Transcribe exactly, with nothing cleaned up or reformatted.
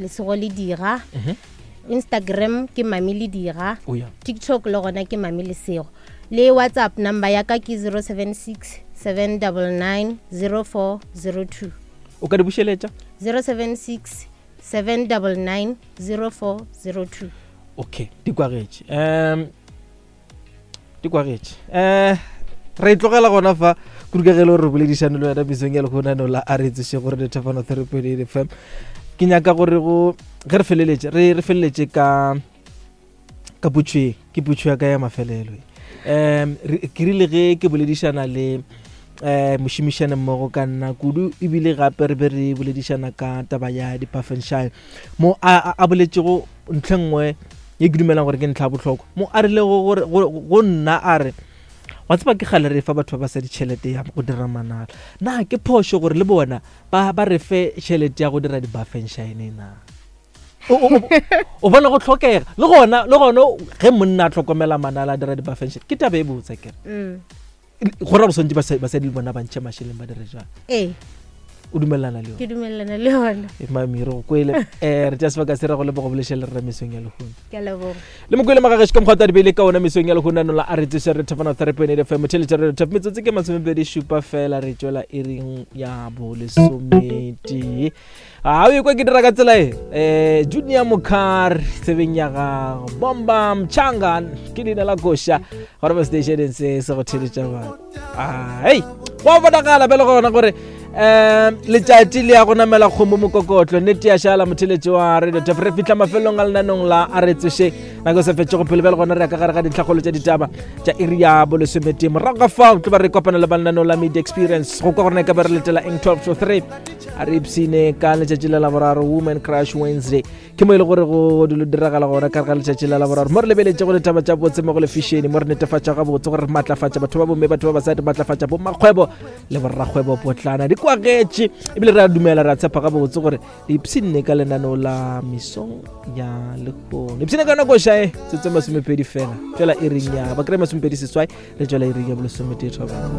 Lesego Le Dira. Instagram ke Mami Le Dira. O ya. TikTok le gona ke Mami Lesego. Le WhatsApp number ya ka ke zero seven six seven double nine zero four zero two. O ka di bušeletša? zero seven six seven double nine zero four zero two. Okay, di kwagetše. Um di kwagetše. Eh re tlogela gona fa kudu ka ge le gore re boledišane le wena mesong ya lehono la a re tsoše gore Thefano three point eight F M. Ke nyaka gore go ge re feleletše re re feleletše ka ka potšo, ke potšo ya ka ya mafelelo. Um ke rile ge ke boledišana le eh mošomišane mmogo ka nna kudu, ebile gape re be re boledišana ka taba ya di-Pafenshine mo a, a boletšego ntlha nngwe ye ke dumelang gore ke ntlha ya bohlokwa, mo a rilego gore go nna a re wa tseba ke kgale re fa batho ba ba sa ditšhelete ya go dira manala, na ke phošo gore le bona ba ba re fe tšhelete ya go dira di-Pafenshine na? O bona go tlhokega le gona le gona ge monna a tlhokomela manala a dira di-Pafenshine ke taba e botse kere go ra go swantse basadi le bona ba ntšhe mašeleng ba dire jang? Ee. O dumelana le yona? Ke dumelana le yona. E mami re go kwele. Eh re tša sebaka se re go leboga bolešele le rra mesong ya lehono. Ke a leboga. Le mokwele magagešo ka mokgwa tsa dibele ka ona mesong ya lehono ano la a re tsoše re Thefano three point eight F M motheletša re Thef metsotso ke masomepedi šupa fela re tšwela iring ya bolesometee. A o ikwa ke dira ka tsela e eh Junior Mokar tsebeng ya gago Bomba Mchanga ke leina la koša gore ba stationeng se se go theletša batho. Ah hey go bonagala bjale gona gore um letšatši le ya go namela kgomo mokokotlo nnete ya šala motheletši wa Radio Tef re fihla mafelong a lenanong la a re tsoše nako se fetšego pele bjale gona re ya ka gare ga dintlhakgolo tša ditaba tša iri ya bolesometee morago ga fao tlo ba re kopana le ba lenaneo la Media Experience go kwa gorena e ka be re letela eng twelve to three a re ipsine ka letšatši la Laboraro Women Crush Wednesday ke mo e le gore go dilo diragala gona ka ga letšatši la Laboraro mo re lebeletše go ditaba tša botse mo go lefišene mo re netefatša gabotse gore re matlafatša batho ba bomme batho ba basadi matlafatša bomakgwebo le borrakgwebo potlana di kwagetše ebile re a dumela re a tshepa gabotse gore le ipshinne ka lenaneo la mesong ya lehono ipshinne ka nako šae tsetse masomepedi fela tšwela iring ya ba kry masomepedi seswai re tšwela iring ya bolesometee thobela.